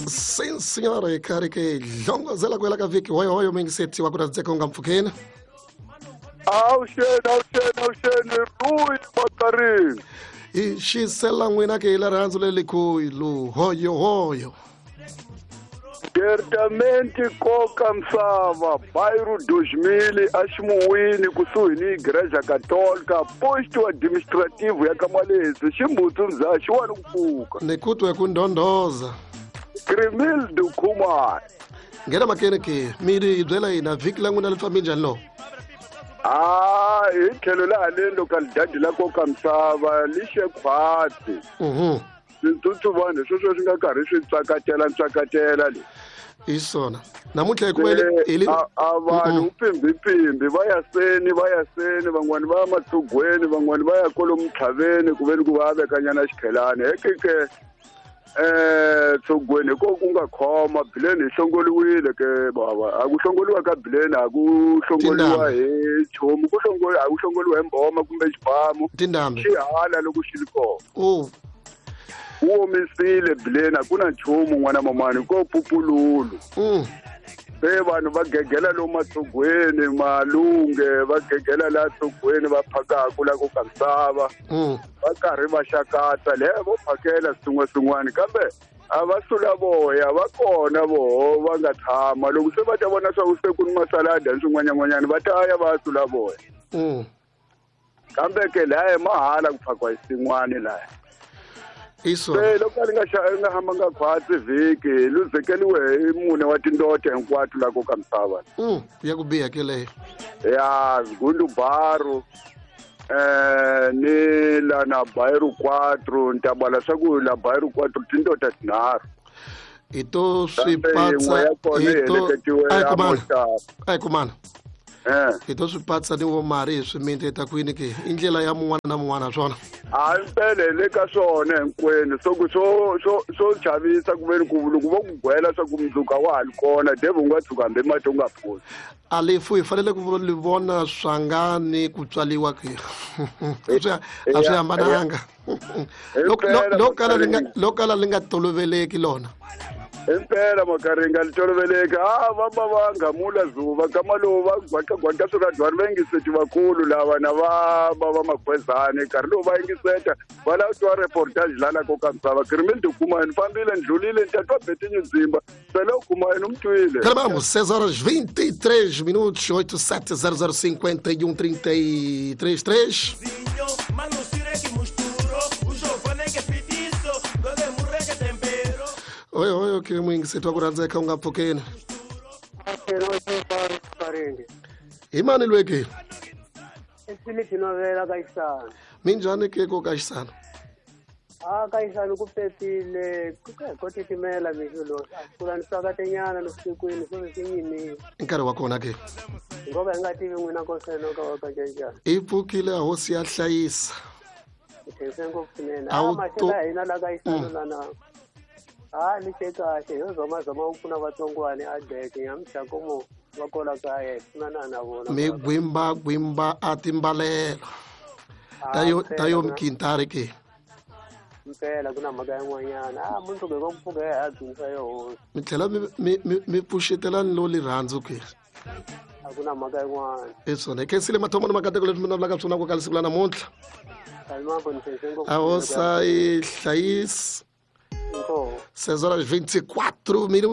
Sim senhora, hi karhi ke hlongozela ku hela ka vhiki hoyohoyo mingiseti wa ku rhandzeka u nga mpfhukeni. Awuxeni, awuxeni, awuxeni, Rui Makarini. Hi xisela n'wina ke hi la rirhandzu lelikulu hoyohoyo. Departamenti koka misava, bairro 2000 aximuwini kusuhi ni Igreja Católica, posto administrativo ya Kamalezi, ximbutsu mza xiwani ku pfuka. Ni ku twe ku ndhondhoza. Grimildo Khumalo. Nghena makene ke mi ri hi byela hina vhiki la n'wina li fambe njhani lo? A hi tlhelo la haleni localidade la koka misava li xe khwatsi. Switsutsuvanhu sweswo swi nga karhi swi tsakatela ntsakatela le. Hi swona namuntlha hi kuma a vanhu pimbi va ya seni, va ya seni, van'wani va ya matsugweni, van'wani va ya kwalomu ntlhaveni ku veni ku va vekanyana xikhelani hekeke tsugweni hi ko ku nga khoma bileni hi hlongoliwile ke bava. A ku hlongoliwa ka bileni, a ku hlongoliwa hi nchumu, ku hlongoliwa, a ku hlongoliwa hi mboma kumbe xibamu. Tindhambi. Xihala loko xi ri kona. Wu omisile bileni, a ku na nchumu n'wana mamani, ko pupululu. Se vanhu va gegela lomu matsugweni, malunge va gegela laha tsugweni va phakaku la ku ka misava. Va karhi va xakatsa le vo phakela swin'wana swin'wana, kambe a va sula voya va kona voho va nga tshama. Loko se va ta vona swa ku se ku ni masalada ni swin'wanyan'wanyana, va ta ya va sula voya. Kambe ke laya hi mahala ku phakiwa xin'wana laya. Isona. Se loko a li nga nga hambanga khwatsi vhiki, luzekeliwe hi mune wa tindota hinkwato la ko ka misava. Ya ku biha ke leyo. Ya Zgundu Baru, ni la na Bairro 4, ni ta bala swa ku la Bairro 4 tindota tinharhu. Hi to swi Kambe patsa, yin'we ya kona hi yi to heleketiwe a hi ya kumana. Mostar. A hi kumana. Hi to swi patsa ni vo mari hi swiminti hi ta kwini ke? I ndlela ya mun'wana na mun'wana swona. A mpele hi le ka swona hinkwenu. So ku swo swo swo chavisa ku veni ku loko vo ku gwela swa ku mundzuku a wa ha li kona, devu u nga tshuka hambi mati u nga phuzi. A lefu hi fanele ku li vona swangani ku tswaliwa ke. A swi hambananga. Lo kala li nga toloveleki lona. Impela makaringa li toloveleki. A va va va ngamula zuva kama lowu va gwaqa gwaqa swiradwani va yingiseti vakulu lava na va va va makhwezani nkarhi lowu va yingiseta va lava twa reportage la la ko ka misava. Grimildo kuma ni fambile ni dlulile ni ta twa Betinho Nzimba sele u kuma yena u mi twile. Caramba, 6 horas 23 minutos, 8, 7, 0, 0, 51, 33, 3. Oi, oi, ok, muyingiseti wa ku rhandzeka u nga pfukeni. Hi mani lwe ke? Philip Novela ka Xisana. Minjhani ke ko ka Xisana? A ka Xisana ku pepile, ku ka ko titimela mixo lowu. A pfula ni tsakatenyana ni vusikwini swo swi yimile. I nkarhi wa kona ke? Ngoba hi nga tivi n'wina ko seno ka wa ka njhani. I pfukile hosi ya hlayisa. Hi khense ngopfu swinene. A wu A maxelo ya hina la ka Xisana lana. A ni xe kahle, yo zoma zoma u pfuna vatsongwani a deke nyamutlha komo va kola kaya hi pfunana na vona. Mi gwimba gwimba a timbalelo. Tayo tayo mkintari ke. Mpela ku na mhaka yin'wanyana. A mundzuku hi ko pfuka hi ha dzunisa yo hosi. Mi tlhela mi pfuxetelani lo lirhandzu ke. A ku na mhaka yin'wana. Hi swona. Hi khensile mathomo ni makateko leswi mi navelaka swona ku ka siku la namuntlha. A hosa yi hlayisa. Inkomu. 6 horas 24 minutos.